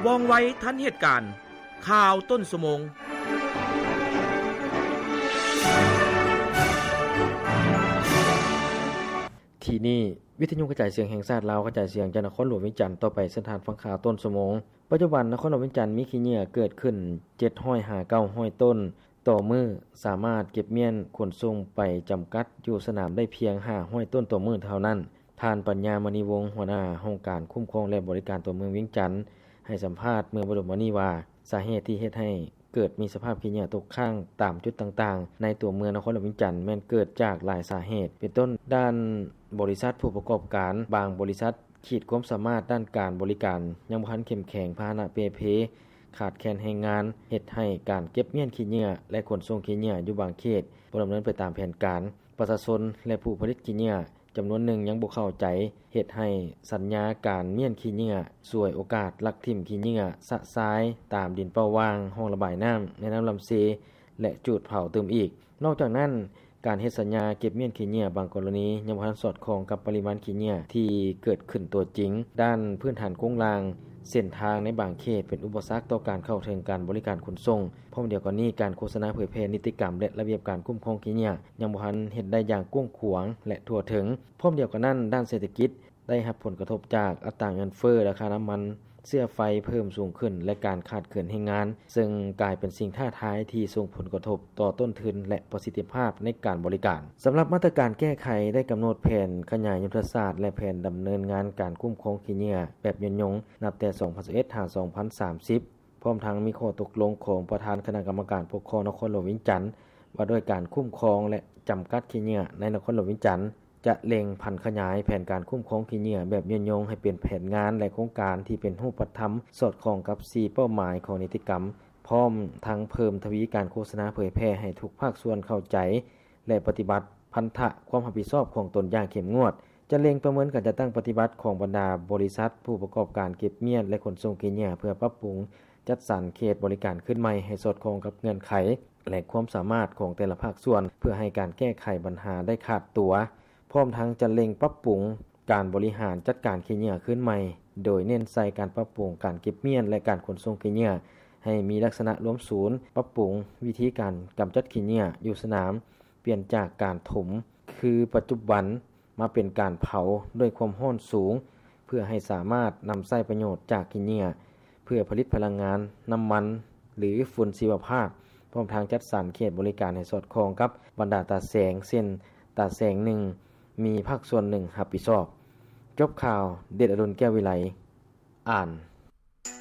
ວ່ອງໄວທັນເຫດການ. ຂ່າວຕົ້ນຊົ່ວໂມງ. ທີ່ນີ້ ວິທະຍຸກະຈາຍສຽງແຫ່ງຊາດລາວ ກະຈາຍສຽງຈາກນະຄອນຫຼວງວຽງຈັນ. ຕໍ່ໄປເຊີນທ່ານຟັງຂ່າວຕົ້ນຊົ່ວໂມງ. ປັດຈຸບັນນະຄອນຫຼວງວຽງຈັນມີຂີ້ເຫຍື້ອເກີດຂຶ້ນ ເຈັດຮ້ອຍຫາເກົ້າຮ້ອຍຕົ້ນ ຕໍ່ມື້, ສາມາດເກັບມ້ຽນຂົນສົ່ງໄປຈຳກັດຢູ່ສະໜາມໄດ້ພຽງຫ້າຮ້ອຍຕົ້ນຕໍ່ມື້ເທົ່ານັ້ນ. ທ່ານ ປັນຍາ ມະນີວົງ ຫົວໜ້າຫ້ອງການຄຸ້ມຄອງ ແລະ ບໍລິການຕົວເມືອງວຽງຈັນ ໃຫ້ສຳພາດເມື່ອບໍ່ດົນມານີ້ວ່າ ສາເຫດທີ່ເຮັດໃຫ້ເກີດມີສະພາບຂີ້ເຫຍື້ອຕົກຄ້າງຕາມຈຸດຕ່າງໆ ໃນຕົວເມືອງນະຄອນຫຼວງວຽງຈັນ ແມ່ນເກີດຈາກຫຼາຍສາເຫດ ເປັນຕົ້ນ ດ້ານບໍລິສັດຜູ້ປະກອບການບາງບໍລິສັດ ຂີດຄວາມສາມາດດ້ານການບໍລິການຍັງບໍ່ທັນເຂັ້ມແຂງ, ພາຫະນະເປ່ເພ, ຂາດແຄນແຮງງານ ເຮັດໃຫ້ການເກັບມ້ຽນຂີ້ເຫຍື້ອ ແລະ ຂົນສົ່ງຂີ້ເຫຍື້ອຢູ່ບາງເຂດບໍ່ດຳເນີນໄປຕາມແຜນການ. ປະຊາຊົນ ແລະ ຜູ້ຜະລິດຂີ້ເຫຍື້ອຈຳນວນໜຶ່ງຍັງບໍ່ເຂົ້າໃຈ ເຮັດໃຫ້ສັນຍາການມ້ຽນຂີ້ເຫຍື້ອສວຍໂອກາດ ລັກຖິ້ມຂີ້ເຫຍື້ອຊະຊາຍຕາມດິນເປົ້າວ່າງ, ຮ່ອງລະບາຍນ້ຳ, ໃນນ້ຳລຳເຊ ແລະ ຈູດເຜົາຕື່ມອີກ. ນອກຈາກນັ້ນ, ການເຮັດສັນຍາເກັບມ້ຽນຂີ້ເຫຍື້ອບາງກໍລະນີຍັງບໍ່ທັນສອດຄ່ອງກັບປະລິມານຂີ້ເຫຍື້ອທີ່ເກີດຂຶ້ນຕົວຈິງ. ດ້ານພື້ນຖານໂຄງລ່າງ, ເສັ້ນທາງໃນບາງເຂດເປັນອຸປະສັກຕໍ່ການເຂົ້າເຖິງການບໍລິການຂົນສົ່ງ. ພ້ອມດຽວກັນນີ້, ການໂຄສະນາເຜີຍແຜ່ນິຕິກຳ ແລະ ລະບຽບການຄຸ້ມຄອງຂີ້ເຫຍື້ອຍັງບໍ່ທັນເຮັດໄດ້ຢ່າງກວ້າງຂວາງ ແລະ ທົ່ວເຖິງ. ພ້ອມດຽວກັນນັ້ນ, ດ້ານເສດຖະກິດ ໄດ້ຮັບຜົນກະທົບຈາກອັດຕາເງິນເຟີ້, ລາຄານ້ຳມັນເຊື້ອໄຟເພີ່ມສູງຂຶ້ນ ແລະ ການຂາດເຂີນແຮງງານ, ເຊິ່ງກາຍເປັນສິ່ງທ້າທາຍທີ່ສົ່ງຜົນກະທົບຕໍ່ຕົ້ນທຶນ ແລະ ປະສິດທິພາບໃນການບໍລິການ. ສຳລັບມາດຕະການແກ້ໄຂ ໄດ້ກຳນົດແຜນຂະຫຍາຍຍຸດທະສາດ ແລະ ແຜນດຳເນີນງານການຄຸ້ມຄອງຂີ້ເຫຍື້ອແບບຍືນຍົງ ນັບແຕ່ສອງພັນຊາວເອັດ ຫາ ສອງພັນສາມສິບ ພ້ອມທັງມີຂໍ້ຕົກລົງຂອງປະທານຄະນະກຳມະການປົກຄອງນະຄອນຫຼວງວຽງຈັນ ວ່າດ້ວຍການຄຸ້ມຄອງ ແລະ ຈຳກັດຂີ້ເຫຍື້ອໃນນະຄອນຫຼວງວຽງຈັນ. ຈະເລັ່ງຜັນຂະຫຍາຍແຜນການຄຸ້ມຄອງຂີ້ເຫຍື້ອແບບຍືນຍົງໃຫ້ເປັນແຜນງານ ແລະ ໂຄງການທີ່ເປັນຮູບປະທຳ ສອດຄ່ອງກັບສີ່ເປົ້າໝາຍຂອງນິຕິກຳ, ພ້ອມທັງເພີ່ມທະວີການໂຄສະນາເຜີຍແຜ່ໃຫ້ທຸກພາກສ່ວນເຂົ້າໃຈ ແລະ ປະຕິບັດພັນທະຄວາມຮັບຜິດຊອບຂອງຕົນຢ່າງເຂັ້ມງວດ. ຈະເລັ່ງປະເມີນການຈັດຕັ້ງປະຕິບັດຂອງບັນດາບໍລິສັດຜູ້ປະກອບການເກັບມ້ຽນ ແລະ ຂົນສົ່ງຂີ້ເຫຍື້ອ ເພື່ອປັບປຸງຈັດສັນເຂດບໍລິການຄືນໃໝ່ໃຫ້ສອດຄ່ອງກັບເງື່ອນໄຂ ແລະ ຄວາມສາມາດຂອງແຕ່ລະພາກສ່ວນ ເພື່ອໃຫ້ການແກ້ໄຂບັນຫາໄດ້ຂາດຕົວ. ພ້ອມທັງຈະເລັ່ງປັບປຸງການບໍລິຫານຈັດການຂີ້ເຫຍື້ອຄືນໃໝ່, ໂດຍເນັ້ນໃສ່ການປັບປຸງການເກັບມ້ຽນ ແລະ ການຂົນສົ່ງຂີ້ເຫຍື້ອໃຫ້ມີລັກສະນະລວມສູນ, ປັບປຸງວິທີການກຳຈັດຂີ້ເຫຍື້ອຢູ່ສະໜາມ, ປ່ຽນຈາກການຖົມຄືປັດຈຸບັນ ມາເປັນການເຜົາດ້ວຍຄວາມຮ້ອນສູງ ເພື່ອໃຫ້ສາມາດນຳໃຊ້ປະໂຫຍດຈາກຂີ້ເຫຍື້ອ ເພື່ອຜະລິດພະລັງງານ, ນ້ຳມັນ ຫຼື ຝຸ່ນຊີວະພາບ, ພ້ອມທັງຈັດສັນເຂດບໍລິການໃຫ້ສອດຄ່ອງກັບບັນດາຕາແສງ, ເຊັ່ນ ຕາແສງໜຶ່ງ ມີພາກສ່ວນໜຶ່ງຮັບຜິດຊອບ. ຈົບຂ່າວ, ເດດອະດຸນ ແກ້ວວິໄລ ອ່ານ.